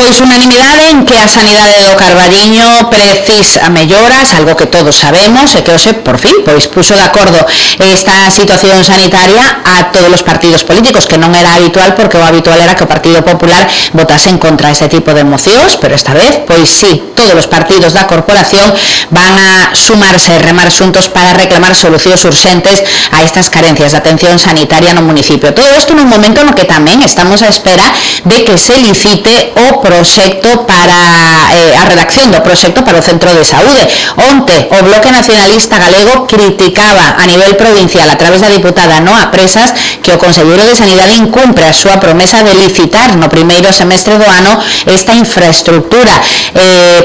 Pois unanimidade en que a sanidade do Carballiño precisa melloras, algo que todos sabemos, e que hoxe, por fin, pois puxo de acordo esta situación sanitaria a todos os partidos políticos, que non era habitual, porque o habitual era que o Partido Popular votase en contra ese tipo de mocións, pero esta vez, pois sí, todos os partidos da corporación van a sumarse e remar xuntos para reclamar solucións urxentes a estas carencias de atención sanitaria no municipio. Todo isto nun momento no que tamén estamos á espera de que se licite o proxecto para a redacción do proxecto para o Centro de Saúde. Onte, o Bloque Nacionalista Galego criticaba a nivel provincial a través da diputada Noa Presas que o Conselleiro de Sanidade incumpre a súa promesa de licitar no primeiro semestre do ano esta infraestructura.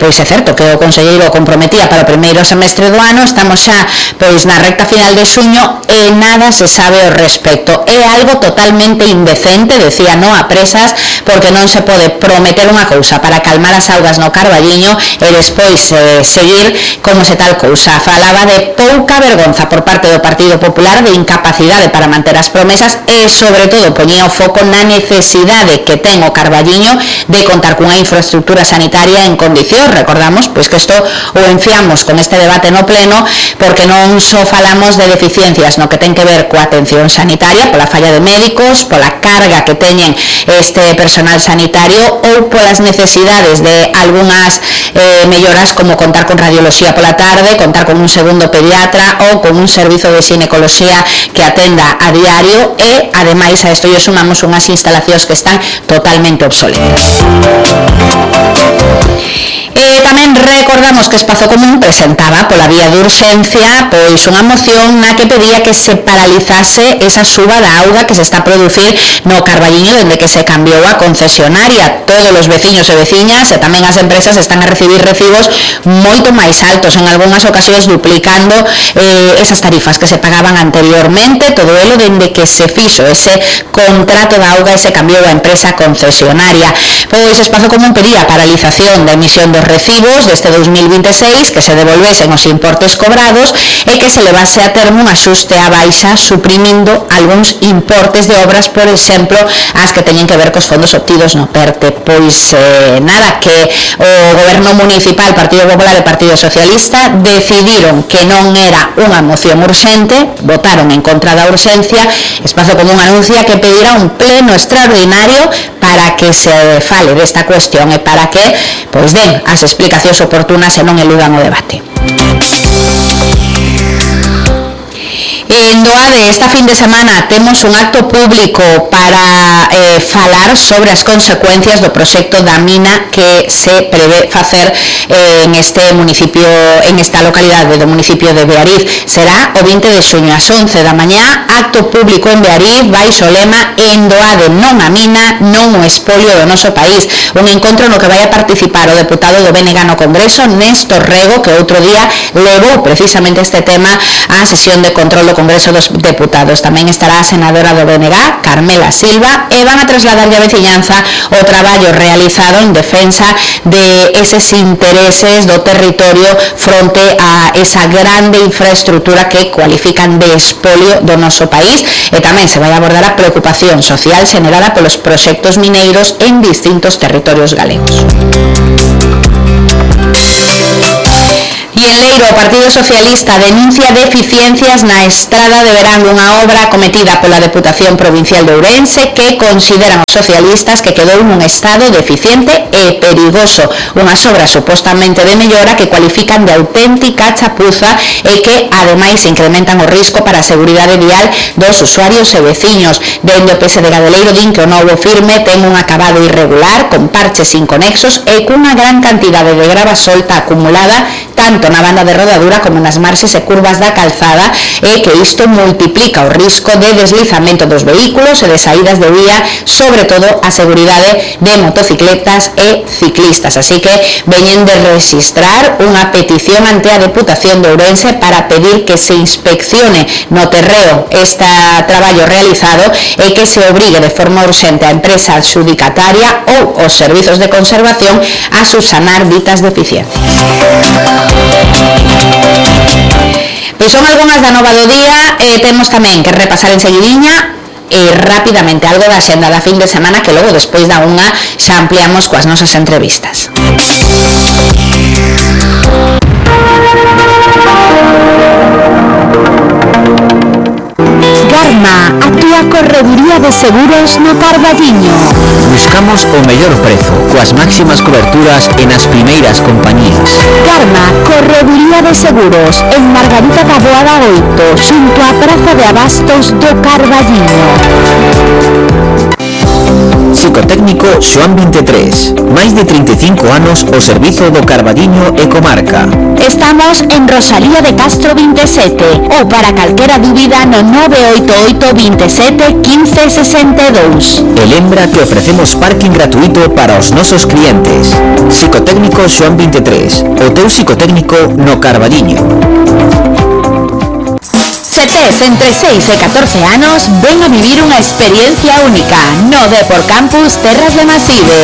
Pois é certo que o Conselleiro o comprometía para o primeiro semestre do ano, estamos xa pois na recta final de xuño e nada se sabe ao respecto. É algo totalmente indecente, decía Noa Presas, porque non se pode prometer unha cousa para calmar as augas no Carballiño e despois seguir como se tal cousa. Falaba de pouca vergonza por parte do Partido Popular, de incapacidade para manter as promesas e, sobre todo, poñía o foco na necesidade que ten o Carballiño de contar cunha infraestructura sanitaria en condicións. Recordamos pois que isto o enfiamos con este debate no pleno porque non só falamos de deficiencias no que ten que ver coa atención sanitaria, pola falla de médicos, pola carga que teñen este personal sanitario ou polas necesidades de algunhas melloras como contar con radioloxía pola tarde, contar con un segundo pediatra ou con un servizo de xinecoloxía que atenda a diario e, ademais, a isto lle sumamos unhas instalacións que están totalmente obsoletas. Tamén recordamos que Espazo Común presentaba pola vía de urxencia pois unha moción na que pedía que se paralizase esa suba da auga que se está a producir no Carballiño dende que se cambiou a concesionaria. Todos os veciños e veciñas e tamén as empresas están a recibir recibos moito máis altos, en algunhas ocasións duplicando esas tarifas que se pagaban anteriormente, todo elo dende que se fixo ese contrato da auga e se cambiou a empresa concesionaria. Pois Espazo Común pedía a paralización da emisión dos recibos deste 2026, que se devolvesen os importes cobrados e que se levase a termo un axuste á baixa suprimindo algúns importes de obras, por exemplo, as que teñen que ver cos fondos obtidos no PERTE. Pois nada, que o Goberno Municipal, Partido Popular e Partido Socialista decidiron que non era unha moción urxente, votaron en contra da urxencia. Espazo Común anuncia que pedirá un pleno extraordinario para que se fale desta cuestión e para que pois den as explicacións oportunas e non eludan o debate. En Doade, esta fin de semana, temos un acto público para falar sobre as consecuencias do proxecto da mina que se prevé facer en este municipio, en esta localidade do municipio de Beariz. Será o 20 de xuño ás 11 da mañá, acto público en Beariz, baixo o lema En Doade non a mina, non o espolio do noso país. Un encontro no que vai a participar o deputado do BNG no Congreso, Néstor Rego, que outro día levou precisamente este tema á sesión de control do Congreso dos Deputados. Tamén estará a senadora do BNG, Carmela Silva, e van a trasladar a veciñanza o traballo realizado en defensa de eses intereses do territorio fronte a esa grande infraestructura que cualifican de espolio do noso país, e tamén se vai abordar a preocupación social xenerada polos proxectos mineiros en distintos territorios galegos. E en Leiro, o Partido Socialista denuncia deficiencias na estrada de verán, unha obra cometida pola Deputación Provincial de Ourense que consideran os socialistas que quedou nun estado deficiente e perigoso. Unhas obras supostamente de mellora que cualifican de auténtica chapuza e que, ademais, incrementan o risco para a seguridade vial dos usuarios e veciños. Dende o PSD de Leiro din que o novo firme ten un acabado irregular, con parches inconexos e cunha gran cantidade de grava solta acumulada tanto na banda de rodadura como nas marxes e curvas da calzada, e que isto multiplica o risco de deslizamento dos vehículos e de saídas de vía, sobre todo a seguridade de motocicletas e ciclistas. Así que veñen de registrar unha petición ante a Deputación de Ourense para pedir que se inspeccione no terreo este traballo realizado e que se obrigue de forma urxente a empresa adxudicataria ou os servizos de conservación a subsanar ditas deficiencias. Pois son algunhas da nova do día, temos tamén que repasar en seguidiña rapidamente algo da xenda da fin de semana, que logo despois da unha xa ampliamos coas nosas entrevistas. Garma, a túa correduría de seguros no Carballiño. Buscamos o mellor prezo, coas máximas coberturas e nas primeiras compañías. Garma, correduría de seguros, en Margarita da Boada 8, xunto á Praza de Abastos do Carballiño. Psicotécnico Xoán 23. Máis de 35 anos ao servizo do Carballiño e comarca. Estamos en Rosalía de Castro 27 ou para calquera dúbida no 988 27 15 62. E lembra que ofrecemos parking gratuito para os nosos clientes. Psicotécnico Xoán 23. O teu psicotécnico no Carballiño. Se tes entre 6 e 14 anos, ven a vivir unha experiencia única no Depor Campus Terras de Maside.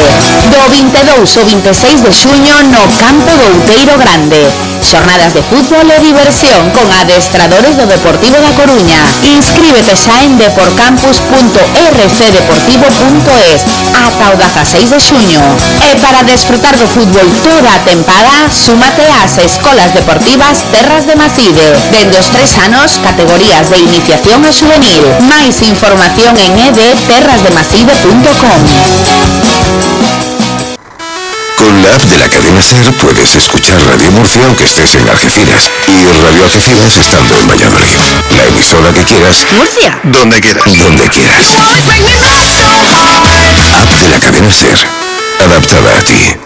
Do 22 ao 26 de xuño no Campo do Outeiro Grande. Xornadas de fútbol e diversión con adestradores do Deportivo da Coruña. Inscríbete xa en deporcampus.rcdeportivo.es ata o 16 de xuño. E para desfrutar do fútbol toda a tempada, súmate ás Escolas Deportivas Terras de Maside. Dende os 3 anos, categorías de iniciación a juvenil. Máis información en edterrasdemaside.com. Con la app de la cadena SER puedes escuchar Radio Murcia aunque estés en Algeciras y Radio Algeciras estando en Valladolid. La emisora que quieras. Murcia. Donde quieras. Donde quieras. App de la cadena SER. Adaptada a ti.